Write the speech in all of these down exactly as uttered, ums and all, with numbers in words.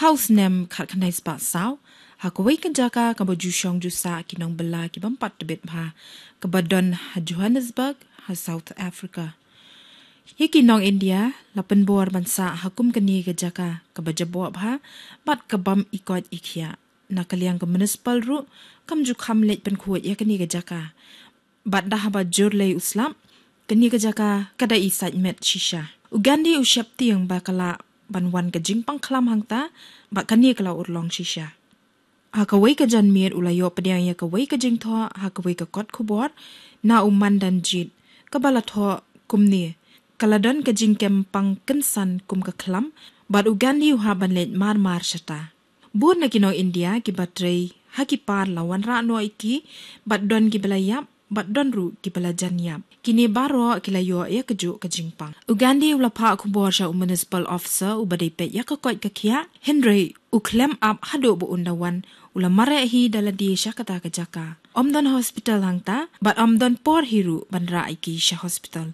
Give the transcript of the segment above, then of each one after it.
Ha u snem khatkhyndai spah saw, ha kawei ka jaka kaba ju shong ju sah ki nongbylla ki bym pat tbit bha, kaba don ha Johannesburg, ha South Africa. Ïa ki nong India la pynbor ban sah ha kum kane ka jaka kaba jaboh bha bad ka bym ikoit ikhiah. Na ka liang ka municipal ruh kam ju kham leit pynkhuid ïa kane ka jaka. Bad da haba jur lei u slap, kane ka jaka ka da i sait met shisha. U Gandhi u sheptieng ba ka lah ban wan ka jingpang khlam hangta, bad kane ka la urlong shisha. Ha kawei ka janmiet u la ïoh pdiang ïa kawei ka jingthoh ha kawei ka kot khubor na u Mandanjit, kaba la thoh kumne: Ka la don ka jingkem pang kynsan kum ka khlam, bad u Gandhi u hap ban leit mar mar shata. Bun na ki nong India kiba trei ha ki par la wanrah noh ïa ki, bad don kiba la ïap, bad don ruh kiba la jan ïap. Kine baroh ki la ïoh ïa kajuh ka jingpang. U Gandhi u la phah khubor sha u municipal officer uba dei peit ïa ka koit ka khiah, hynrei u khlem ap haduh ba un da wan, u la mareh hi da lade sha kata ka jaka. Ym don hospital hangta, bad ym don por hi ruh ban rah ïa ki sha hospital.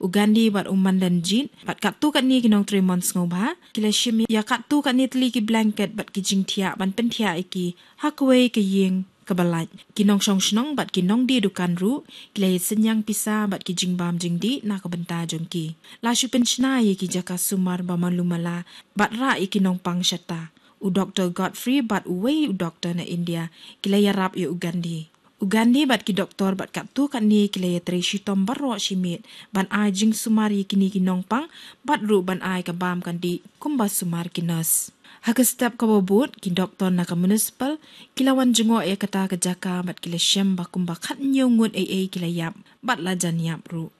U Gandhi bad u Mandanjit, bad katto katne ki nongtrei mon sngewbha, ki la shim ïa katto katne tylli ki blanket bad ki jingthiah ban pynthiah ïa ki ha kawei ka ïing kaba lait. Ki nongshong shnong bad ki nongdie dukan ruh ki la ïa synñiang pisa bad ki jingbam jingdih na ka bynta jong ki. La shu pynshna ïa ki jaka sumar ba malu mala bad rah ïa ki nongpang shata. U Doktor Godfrey bad uwei u doktor na India ki la ïarap ïa u Gandhi. U Gandhi bad ki doktor bad katto katne ki la ïatrei shitom baroh shi miet ban ai jingsumar ïa kine ki nongpang, bad ruh ban ai ka bam ka dih kumba sumar ki nurse. Ha ka step kaba bud, ki doktor na ka municipal ki la wan jngoh ïa kata ka jaka bad ki la shem ba kumba khathynñiew ngut ei ei ki la ïap bad la jan ïap ruh.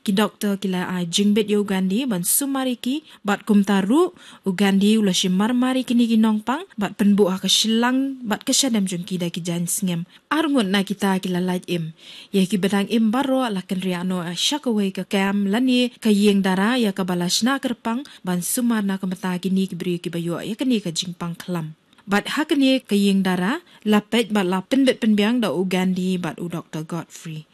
Ki doktor ki la ai jingbit ïa u Gandhi ban sumar ïa ki, bad kumta ruh u Gandhi u la shim mar mar ïa kine ki nongpang bad pynbuh ha ka shillang bad ka shadem jong ki da ki jaiñ sngem. Ar ngut na kita ki la lait im. Ïa kiba dang im baroh la kynriah noh sha kawei ka camp lane ka ïing dara ïa kaba la shna kyrpang ban sumar na ka bynta kine ki briew kiba ïoh ïa kane ka jingpang khlam. Bad ha kane ka ïing dara la peit bad la pynbit pynbiang da u Gandhi bad u Doktor Godfrey.